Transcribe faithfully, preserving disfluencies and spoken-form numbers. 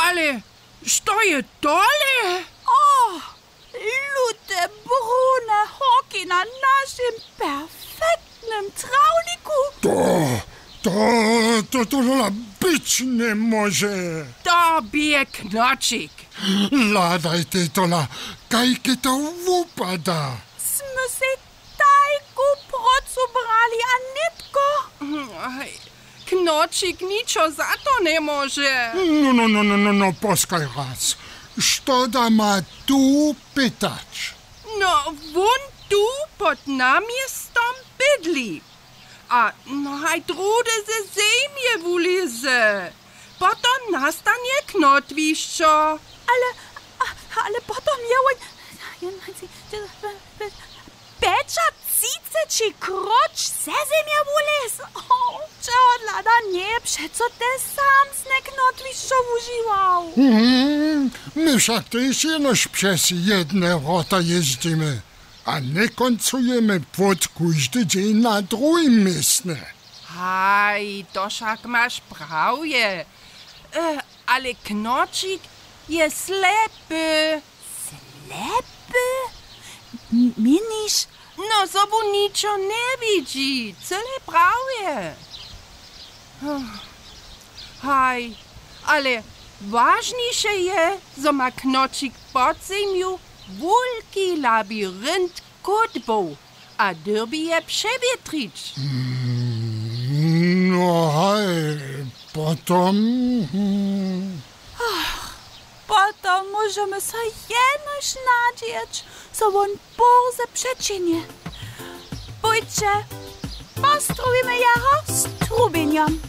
Ale što je tole? O, lute brune horki na našim perfektnym trawniku. To, to, to, tola być njemóže. To bě Knočik. Hladajtej tola, kajke to wupada. Smy sej tajku prócu brali a nětko. Aj, Knočik ničo za to njemóže. No, no, no, no, no, no, poskaj raz. Što da ma tu pytać? No, wón tu pod namjestom bydli. A no, haj druhdy ze zemje wulěze. Potom nastanje knotwišćo. Ale, a, ale potom je wón pjećatřiceći króć ze zemje wulěz. O, čehodla da njeje přeco te samsne knotwišćo wužiwał. Mhm, my wšak tež jenož přez jedne wrota jězdźimy a njekóncujemy płót kóždy dźeń na druhim městnje. Haj, to wšak maš prawje. E, ale Knočik je slepy. Slepy? M-, měniš? No, zo wón ničo njewidźi, cyle prawje. Haj, ale wažniše je, zo ma Knočik pod zemju wulki labirint kódbow a dyrbi je přewětrić. Mm, no haj, potom, hm. Potom móžemy so jenož nadźeć, zo wón bórze přećihnje. Pójće, postrubimy jeho z trubjenjom.